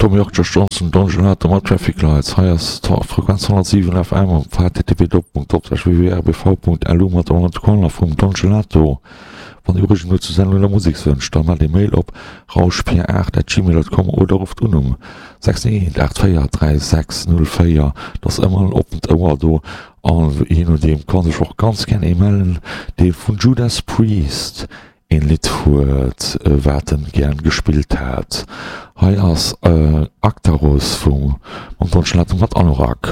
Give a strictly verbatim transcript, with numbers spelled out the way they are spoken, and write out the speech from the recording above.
Tommy York, Josh Johnson, Don Gelato mat Traffic Lights. Hei ass d'Frequenz honnertsiwen F M op h T T P doppelpunkt doppelslash W W W Punkt R B V Punkt L U mat der Around the Corner vum Don Gelato. Wann Dir Ureegungen hutt zur Sendung oder Musekswënsch, da maacht ee Mail op rauschpier aacht at gmail Punkt com oder rufft un um sechs eent aacht véier dräi sechs null véier. Et ass ëmmer en oppent Ouer do an jee nodeem kann sech och ganz gär ee mellen, dee vun Judas Priest een Lidd huet, wat en gär gespillt hätt. Hei ass Actarus vum mam Don Gelato mat Anorak.